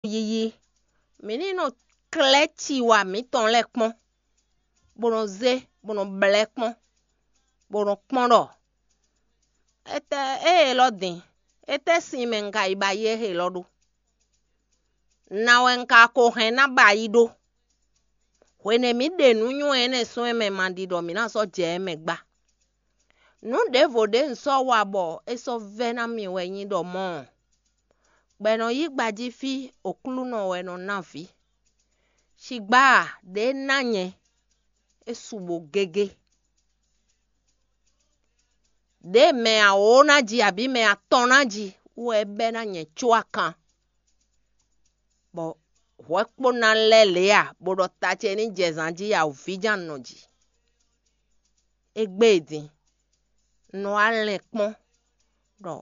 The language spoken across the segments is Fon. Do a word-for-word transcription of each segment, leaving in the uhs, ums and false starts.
yiyi. Mǐ ní nɔ klɛ́ ciwa mǐtɔn lɛ́ɛ kpɔ́n, bó nɔ zé, bó nɔ blɛ́ kpɔ́n, bó nɔ kpɔ́n ɖɔ étɛ́ ée élɔ́ din, étɛ́ sin mɛ un ka yi ba yi éhe élɔ́ ɖó? Ná wɛ un ka ko hɛn ná ba yi ɖó? Hwenu e mǐ ɖe nǔ nywɛ́ énɛ́ sɔ́ ɛ mɛ ma ɖi ɖɔ mǐ ná sɔ́ jɛ ɛ mɛ gbá. Nǔ ɖěvo ɖě un sɔ́ wa bɔ é sɔ́ vɛ́ ná mì wɛ nyí ɖɔ mɔ̌ ɔ́, gbɛ nɔ yí gbají fí Oklúnɔ wɛ nɔ ná vǐ. Cigbá a, ɖě ná nyɛ, é su bo gégé. Ɖěe mɛ awǒ ná ji abǐ mɛ atɔn ná ji wú wɛ é bɛ́ ná nyɛ có akan, bɔ hwɛ kpó ná lɛ́ lě a, bó ɖɔ ta ce ní jɛ zan jí a, vǐ ján nɔ ji. Égbé e din, un nɔ wá lɛn kpɔ́n ɖɔ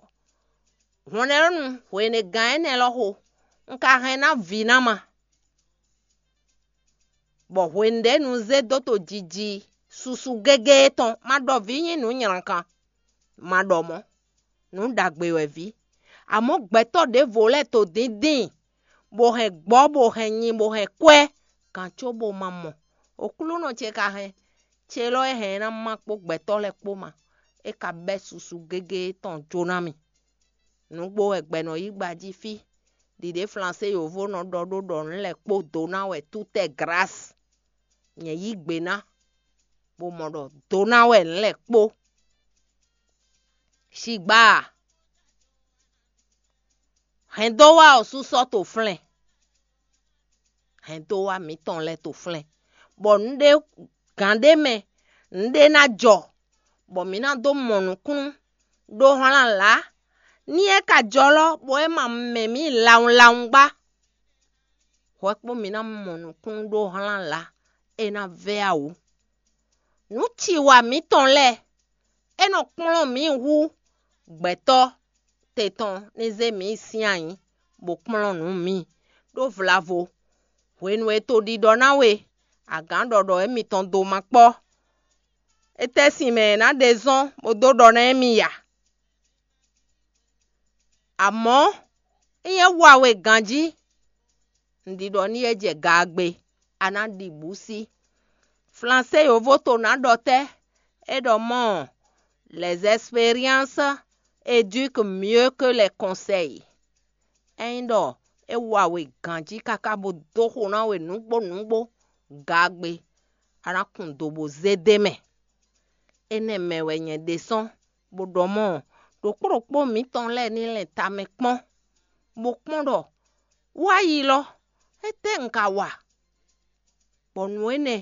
hwlɛ́nnu hwenɛgán énɛ́ lɔ xo, un ka hɛn ná vǐ ná ma, bɔ hwenu ɖě nu zé dó to jiji susu gégé tɔn, ma ɖɔ vǐ nyí nǔ nylǎkan, ma ɖɔ mɔ̌, nǔ ɖagbe wɛ vǐ. Amɔ̌ gbɛtɔ́ ɖěvo lɛ́ɛ to dǐndín, bó hɛn gbɔ̌, bó hɛn nyi, bó hɛn kwɛ́, gǎn có bó ma mɔ. Oklúnɔ ce ka hɛn, ce lɔ é hɛn ná má kpó gbɛtɔ́ lɛ́ɛ kpó ma, é ka bɛ́ susu gégé tɔn jó ná mì. Nǔgbó wɛ gbɛ nɔ yí gbají fí. Ɖiɖě Flansé yǒvó nɔ ɖɔ ɖó ɖɔ nǔ lɛ́ɛ kpó dó ná wɛ tútɛ́ grâce. Nyɛ yí gbe ná, bó mɔ ɖɔ dó ná wɛ nǔ lɛ́ɛ kpó. Sigba a, hɛn dó wá ɔ́ sú sɔ́ to flɛ́n. Hɛn dó wá mǐtɔn lɛ́ɛ to flɛ́n, bɔ nǔ ɖé gǎn ɖé mɛ, nǔ ɖé ná jɔ, bɔ mǐ ná dó mɔ nǔkúnnú ɖó hlán lǎ. Ní é ka jɔ lɔ́, bɔ é ma mɛ mǐ lawunlawun gbá, hwɛ kpó mǐ ná mɔ nǔkúnnú ɖó hlán lǎ, é ná vɛ́ awǔ. Nǔ ci wa mǐtɔn lɛ́ɛ, é nɔ kplɔ́n mǐ hú gbɛtɔ́ te tɔn ní zé mǐ sín ayǐ, bó kplɔ́n nǔ mǐ, ɖó vlavo. Hwenu e to ɖiɖɔ ná we, agǎn ɖɔɖɔ émítɔn dó ma kpɔ́. Étɛ́ sin mɛ è nǎ ɖe zɔ́n bó dó ɖɔ ná émí ya? Amɔ̌, ényí é wa we ganjí, un ɖi ɖɔ ní é jɛ gaagbe, a nǎ ɖi bǔ sí. Flansé yǒvó to nǎ ɖɔ tɛ́? É ɖɔ mɔ̌, les expériences éduquent mieux que les conseils. Ényí ɖɔ é wa we ganjí káká bó dó xo ná we nǔgbó nǔgbó gaagbe, a nǎ kun do bó zé d'é mɛ. Énɛ́ mɛ wɛ nyɛ ɖésɔ́ bó ɖɔ mɔ̌, ɖokpó ɖokpó mǐtɔn lɛ́ɛ ní lɛn tamɛ kpɔ́n, bó kpɔ́n ɖɔ wá yi lɔ, étɛ́ un ka wa, bɔ nǔ énɛ́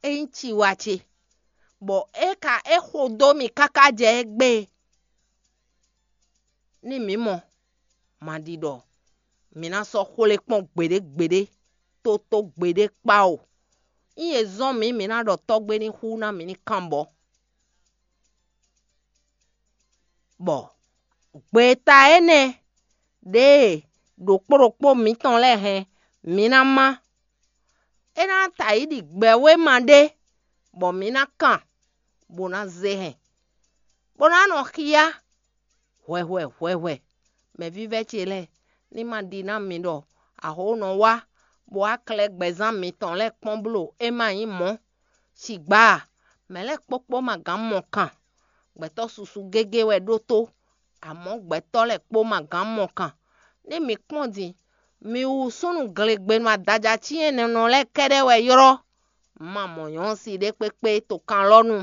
é nyí ciwa ce, bɔ é ka é xo dó mì káká jɛ égbé, ní mǐ mɔ, ma ɖi ɖɔ mǐ ná sɔ́ xwlé kpɔ́n gbeɖé gbeɖé, tótó gbeɖé kpá o. Ényí è zɔ́n mǐ, mǐ ná ɖɔ tɔ́gbé ní xú ná mǐ ní kanbɔ. Bɔ gbeta énɛ́ ɖěe ɖokpó ɖokpó mǐtɔn lɛ́ɛ hɛn, mǐ ná má. É ná ta yi ɖi gbɛwéma ɖé, bɔ mǐ ná kan, bó ná zé hɛn, bó ná nɔ xyá hwɛhwɛ hwɛhwɛ. Mɛvívɛ́ ce lɛ́ɛ, ní ma ɖi ná mi ɖɔ axó nɔ wá, bó wá klɛ́ gbɛzán mitɔn lɛ́ɛ kpɔ́n bló é ma nyí mɔ̌. Sigba a, mɛ̌ lɛ́ɛ kpókpó ma gǎn mɔ kan. Gbɛtɔ́ susu gégé wɛ ɖótó, amɔ̌ gbɛtɔ́ lɛ́ɛ kpó ma gǎn mɔ kan. Ní mǐ kpɔ́n din, mi wú súnnu glegbenu adaja cyɛ́nnɛnɔ lɛ́ɛ kɛ́ɖɛ́ wɛ ylɔ́. Un ma mɔ nyɔ̌si ɖé kpékpé to kan lɔ nu.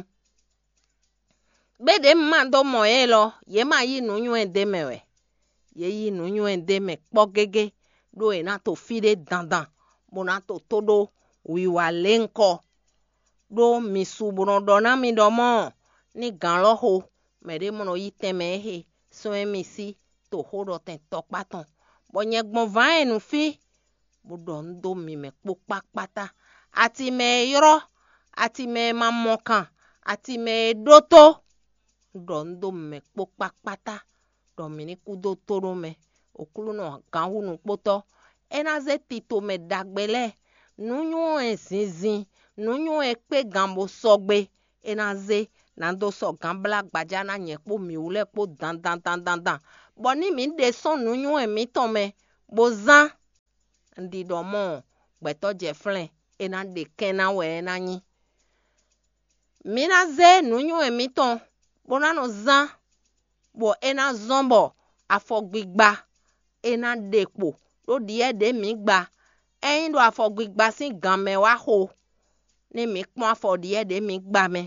Gbé ɖě un ma dó mɔ yě lɔ, yě ma yí nǔnywɛ́ d'é mɛ wɛ. Yě yí nǔnywɛ́ d'é mɛ kpɔ́ gégé, ɖó è nǎ to fí ɖé dandan, bó ná to tó ɖó wiwa lě ŋkɔ. Ɖó mi su bó nɔ ɖɔ ná mi ɖɔ mɔ̌, ní gǎn lɔ xo, mɛɖé mɔ nɔ yí tɛnmɛ éhe sɔ́ émí sí toxóɖɔtɛn tɔkpá tɔn, bɔ nyɛ gbɔn vǎn e nu fí, bó ɖɔ nǔ dó mi mɛ kpó kpákpátá. Ati mɛ e ylɔ́, ati mɛ e ma mɔ kan, ati mɛ e ɖótó, un ɖɔ nǔ dó mi mɛ kpó kpákpátá, ɖɔ mǐ ní kú dó tóɖó mɛ. Oklúnɔ gǎnhúnukpótɔ́, é ná zé tito mɛ ɖagbe lɛ́ɛ, nǔnywɛ́ zinzin, nǔnywɛ́ kpé gan bó sɔgbe, é ná zé ná dó sɔ́ gǎn blá gbaja ná nyɛ kpó mǐwú lɛ́ɛ kpó dandan dandan dan, bɔ ní mǐ ɖe sɔ́ nǔnywɛ́ mǐtɔn mɛ, bó zán, Un ɖi ɖɔ mɔ gbɛtɔ́ jɛ flɛ́n, é ná ɖe kɛ́n ná wɛ é ná nyí. Mǐ ná zé nǔnywɛ́ mǐtɔn bó ná nɔ zán, bɔ é ná zɔ́n bɔ afɔgbigba é ná ɖe kpo ɖó ɖyɛ̌ ɖě mǐ gba. Ényí ɖo afɔgbigba sín gan mɛ wá xo, ní mǐ kpɔ́n afɔ ɖyɛ̌ ɖě mǐ gba mɛ,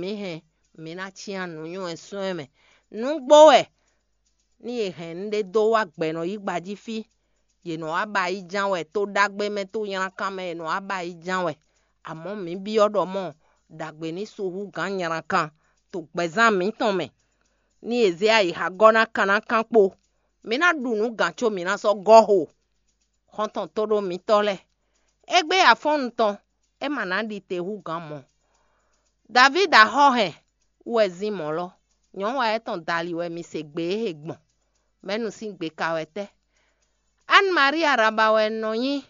mǐ hɛn mǐ ná cyán nǔnywɛ́ sɔ́ ɛ mɛ. Nǔgbó wɛ ní è hɛn nǔɖé dó wá gbɛ̌nɔyígba jí fí. Yě nɔ wá ba yi ján wɛ, tó ɖagbe mɛ, tó nylakán mɛ è nɔ wá ba yi ján wɛ. Amɔ̌ mǐ byɔ́ ɖɔ mɔ ɖagbe ní su hú gǎn nylakán to gbɛzán mǐtɔn mɛ. Ní è zě ayǐ xá gɔ́ ná kan ná kán kpo. Mǐ ná ɖu nǔ gǎn có mǐ ná sɔ́ gɔ́ xo. Xɔ́ntɔn tóɖó mǐtɔn lɛ́ɛ, égbé afɔ́nnu tɔn, é ma ná ɖi te hú gǎn mɔ̌. Davídi axɔ́ hɛn wú wɛ zín mɔ̌ lɔ. Nyɔ̌nu wa étɔn dali wɛ mi se gbe e he gbɔn. Mɛ̌nu sín gbe ka wɛ tɛ́? Anne Marie Araba wɛ un nɔ nyí.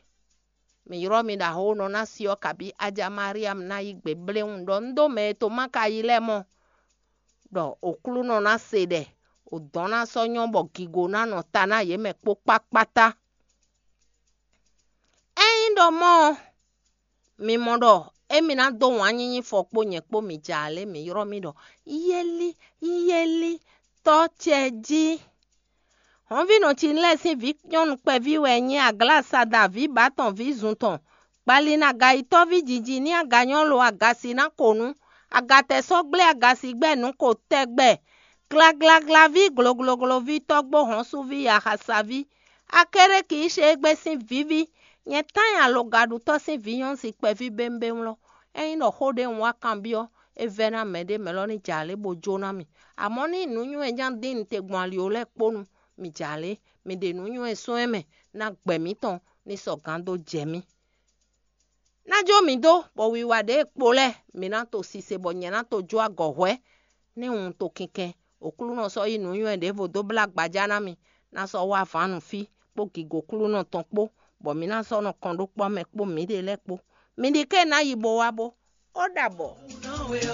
Mǐ ylɔ́ mi ɖo axɔ́nɔ ná si ɔ́ kabí Aja Mariam ná yí gbe bléwún ɖɔ un ɖó mɛ e to má ka yi lɛ́ɛ mɔ, ɖɔ Oklúnɔ ná se ɖɛ, odɔ̌n ná sɔ́ nyɔ́ bɔ gigo ná nɔ ta ná yě mɛ kpó kpákpátá. Ényí ɖɔ mɔ̌ ɔ́, mi mɔ ɖɔ émí ná dó wǎn nyínyí fɔ kpó nyɛ kpó mi jɛ alě mi ylɔ́ mì ɖɔ: Yéli, yéli, tɔ́ ce jí. Hɔ̌nvínɔ ce lɛ́ɛ sín vǐ nyɔ́nu kpɛví wɛ nyí Aglásada vǐ bǎ tɔn vǐ zun tɔn. Gbali nú agayitɔ́ví jiji ní aganyɔ́ lo agasi ná ko nú agatɛ́ sɔ́ gblé agasi gbɛ́ nǔ ko tɛgbɛ. Glaglaglaví, gloglogloví, tɔ́gbó hɔ̌nsuví, axasaví, Akéréki Íshégbé sín vǐví, nyɛ tán nyi alogaɖutɔ́ sín vǐ nyɔ́ si kpɛví bémbéwlɔ́. Ényí ɖɔ xó ɖé un wá kanbyɔ́, é vɛ́ ná mɛɖé mɛ lɔ ní jɛ alě bó jó ná mì. Amɔ̌ ní nǔnywɛ́ nya dín un te gbɔn ali ó lɛ́ɛ kpó nu, mi jɛ alě, mi ɖe nǔnywɛ́ sɔ́ ɛ mɛ, ná gbɛ mǐtɔn ní sɔgǎn dó jɛ mì. Ná jó mǐ dó, bɔ wiwa ɖě e kpo lɛ́ɛ mǐ ná to sise bɔ nyɛ ná to jó agɔ̌ hwɛ́, ní un to kinkɛn. Oklúnɔ sɔ́ yí nǔnywɛ́ ɖěvo dó blá gbajá ná mì, ná sɔ́ wá vǎn nú fí kpó gǐgó Oklúnɔ tɔn kpó, bɔ mǐ ná sɔ́ nɔ kɔn ɖó kpɔ́ mɛ kpó mǐɖée lɛ́ɛ kpó. Mi ɖi ké ná yi bo wá bó. Ó ɖabɔ.